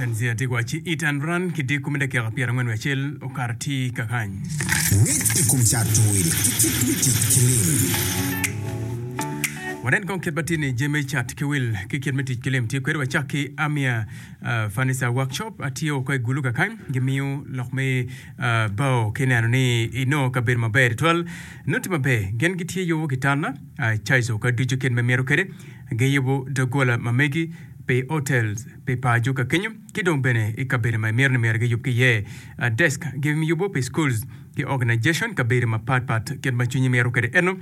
Tanzia tye ka wacci Eat and Run ki diko me dakika 41 okato tye kakany. Ngec i kom cato wil ki kit me tic ki lim. Wanen kong kit ma tye ni jami cat ki wil ki kit me tic ki lim tye kwede. Wacak ki Amia Furniture Workshop tye woko i Gulu kakany. Gimiyo lok me bao ki neno ni inongo kabedo maber tutwal. Nongo tye maber. Gin gitye yubo kitanda, caizo ka ducu kit ma imito kwede. Giyubo doggola ma megi pi hotels, pi paco ka kenyo ki dong bene i kabedo ma imito ni myero giyub ki iye. Desk giyubo pi schools ki organization kabedo mapat pat kit ma cwinyi mito kwede eno.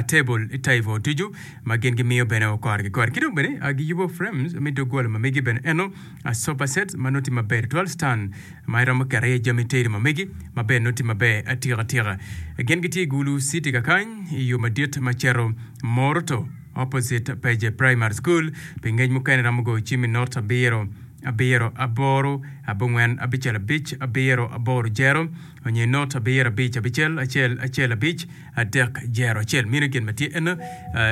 Table table ducu ma gin gimiyo bene okore ki kore ki dong bene giyubo frames me doggola ma megi bene eno. Sofa sets ma nongo tye maber tutwal stand ma iromo keto iye jami tedo ma megi ma bene nongo tye maber atika tika. Gin gitye i Gulu city kakany i yo madit ma cito Moroto opposite Peje Primary School. Pi ngec mukene iromo goyo cim i not abiro abiro aboro abongwen abicel abic abiro aboro jero onyo i not abiro abic abicel acel acel abic adek jero acel. Meno gin ma tye eno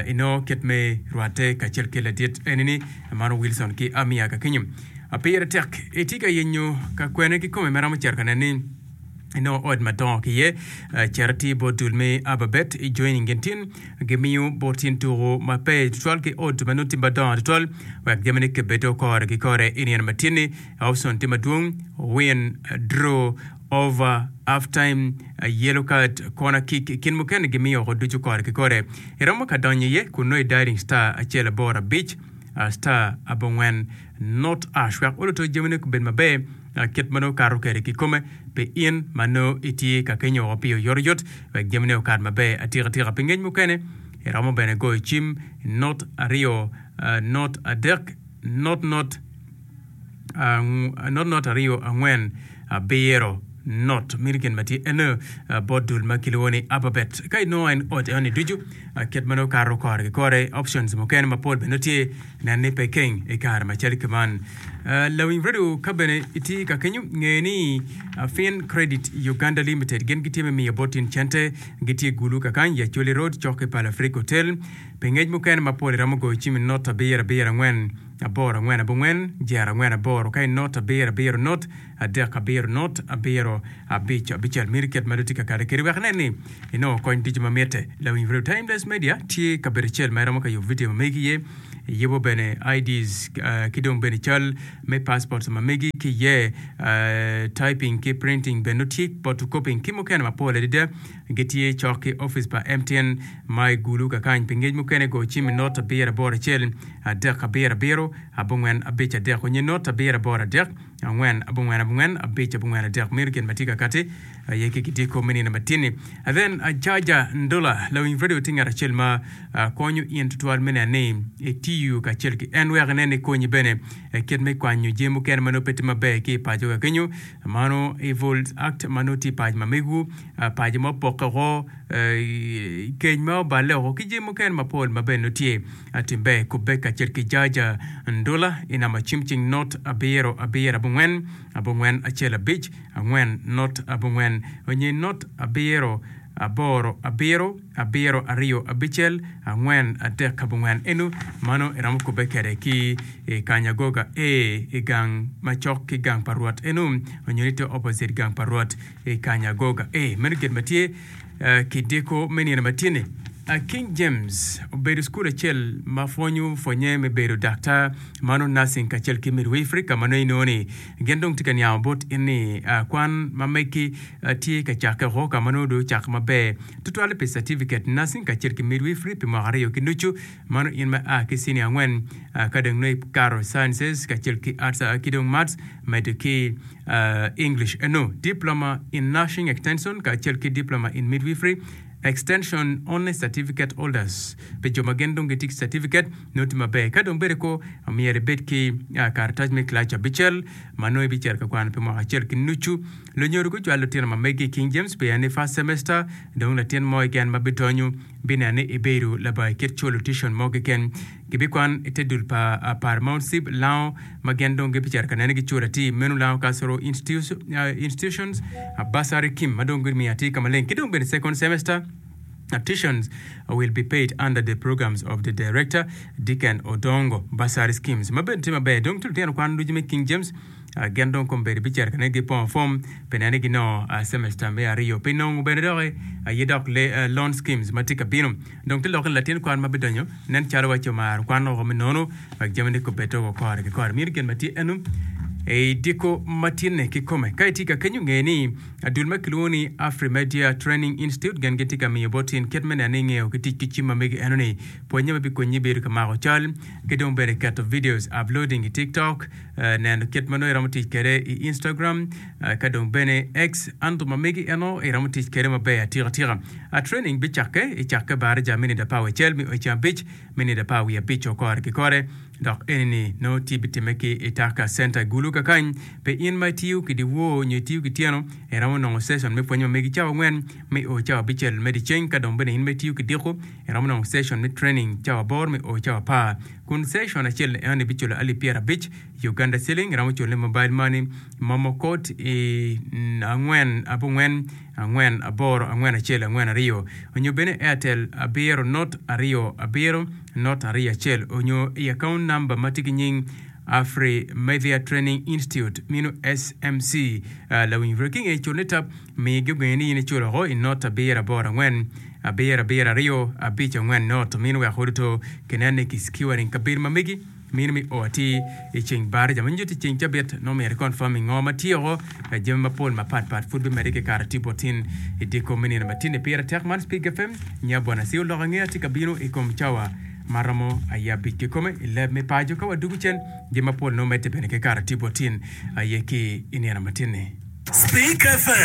inongo kit me rwatte kacel ki ladit enini mano Wilson ki Amia kakenyo. Pire tek itye ka yenyo ka kwene kikome ma romo cito ka neno ni inongo ot madongo ki iye. Cit atir bot dul me Ababet i joining gin tin gimiyo bot tin tuku ma pe tutwal ki ot ma nongo tye madongo tutwal wek jamine kibedo kore ki kore i nino ma tin-ni. Option tye madwong, win, draw, over, half time, yellow card, corner kick i kin mukene gimiyo woko ducu kore ki kore. Iromo ka donyo iye kun nongo i dialing star acel aboro abic star abongwen not ash wek oluto jamine gubed maber kit ma nongo kato kwede kikome pi in ma nongo itye ka kenyo woko pi oyotoyot wek jamine okat maber atika tika. Pi ngec mukene iromo bene goyo cim not aryo not adek not not not not aryo angwen abiro not meno gin ma tye eno bot dul ma kilwongo ni Ababet. Ka inongo en ot enoni ducu kit ma nongo kato kore ki kore options mukene mapol bene tye nen ni pe keng i kare macalo ki man. Lawiny radio ka bene itye ka kenyo nge ni Fin Credit Uganda Limited gin gitye me miyo bot in cente gitye gulu kakany i Acholi Road cok ki Pal Afrik Hotel. Pi ngec mukene mapol iromo goyo cim i not abiro abiro angwen aboro angwen abongwen jer angwen aboro ka i not abiro abiro not adek abiro not abiro abic abicel miti kit ma dong tye ka kati kede wek inen ni inongo kony ducu ma mitte. Lawiny Radio Timeless Media tye kabedo acel ma iromo ka yubo vidio ma megi iye, iyubo bene IDs ki dong bene cal me passports ma megi ki iye, typing ki printing bene nongo tye, photocopying ki mukene mapol adada. Gitye cok ki opic pa MTN ma i Gulu kakany. Pi ngec mukene go cim i not abiro aboro acel adek abiro abiro abongwen abic adek onyo not abiro aboro adek angwen abongwen abongwen abic abongwen adek. Meno gin ma tye ka kati aye ki kidiko me nino matin-ni. Then Ajaja Ndola lawiny radio tye ngat acel ma konyo in tutwal me neno ni itiyo kacel ki en wek inen ni konyi bene kit me kwanyo jami mukene ma nongo pe tye maber ki i paco ka kenyo. Mano evil act ma nongo tye i paco ma megwu, paco ma opokke woko, keny ma oballe woko ki jami mukene mapol ma bene nongo tye. Tim ber kubbe kacel ki Jaja Ndula i namba cim cing not abiro abiro abongwen abongwen acel abic angwen not abongwen onyo not abiro aboro abiro abiro aryo abicel angwen adek abongwen. Eno mano iromo kubbe kwede ki i Kanyagoga A i gang macok ki gang pa Rwot eno onyo ni tye opposite gang pa Rwot i Kanyagoga A. Meno gin ma tye Kidiko me nino ma tye-ni, King James obedo cukul acel ma pwonyo pwonye me bedo daktar, mano nursing kacel ki midwifery ka ma nongo inongo ni gin dong tye ka niango bot in ni kwan ma meggi tye ka cakke woko ka ma nongo dong ocake maber tutwalle pi certificate nursing kacel ki midwifery pi mwaka aryo ki nucu mano in ma a ki senior angwen ka dong nongo ikato sciences kacel ki arts ki dong maths medo ki English eno, Diploma in Nursing Extension kacel ki Diploma in Midwifery Extension Only Certificate Holders pi jo ma gin dong gitye ki certificate nongo tye maber. Ka dong bedo ko myero ibed ki karatac me kilaci abicel ma nongo ibicito ka kwano pi mwaka acel ki nucu. Lunyodo gucwalo lutino ma megi i King James pien ni first semester dong latin mo keken ma bidonyo bineno ni ibedo labongo kit culo tuition mo keken. Gibikwan i te dul pa Paramount Cib Lango ma gin dong gibicito ka nene giculo atir meno Lango Cultural Institutions Bursary Kim ma dong gimiyo atir ka maleng ki dong bene second semester tuitions will be paid under the programs of the Director Deacon Odongo Bursary Schemes ma bene tye maber dong tye lutino kwan ducu me King James. Gin dong kombeddi bicito ka neno gipongo fom pi neno ni ginongo semester me aryo. Pi nongo bene doki aye dok loan schemes ma tye ka bino. Dong te lok ni latin kwan ma bidonyo nen calo waci omaro kwan woko me nono wek jamine kubed woko kore ki kore. Meno gin ma tye eno i diko ma tinne kikome. Ka itye ka kenyo nge ni dul ma kilwongo ni Afrimedia Training Institute gin gitye ka miyo bot in kit me neno ni ingeyo ki tic ki cim ma megi eno ni pwonye ma bikonyi bedo ka mako cal ki dong bene keto videos uploading i TikTok, neno kit ma nongo iromo tic kwede i Instagram ka dong bene X anto ma megi eno iromo tic kwede maber atika tika. Training bicakke i cakke baraja minit apar wiye acel me o i ceng abic minit apar wiye abic o kore ki kore dok eni ni nongo tye bitimme ki i Taka Center i Gulu kakany. Pi in ma itiyo ki dyewor nyo itiyo ki tyeno iromo nongo session me pwony ma megi cawa angwen me o cawa abicel me dyeceng ka dong bene in ma itiyo ki diko iromo nongo session me training cawa aboro me o cawa apar kun session acel eno ibiculo alip pyerabic Uganda Shilling iromo culo ni mobile money momo code i angwen abongwen angwen aboro angwen acel angwen aryo onyo bene Airtel abiro not aryo abiro not aryo acel onyo i account number ma tye ki nying Afri Media Training Institute mino SMC lawiny bro ki nge culo ni tap mi gi ogenge ni in iculo oko i not abiro aboro angwen abiro abiro aryo abic angwen not mino wek oduto kinen ni ki securing kabedo ma megi Mino me o atir i ceng baraja ma nyuto i ceng cabit nongo myero i confirming ngo ma tye oko jami mapol mapat pat pud bimedde ki kato tye botin i dyekor me nino matin-ni. Pire tek man Spik FM nya Bwana Siu lok angeya tye ka bino i kom cawa ma romo aye abic kikome i leb me paco ka wadugu cen jami mapol nongo medde bene ki kato tye botin aye ki i nino matin-ni. Spik FM.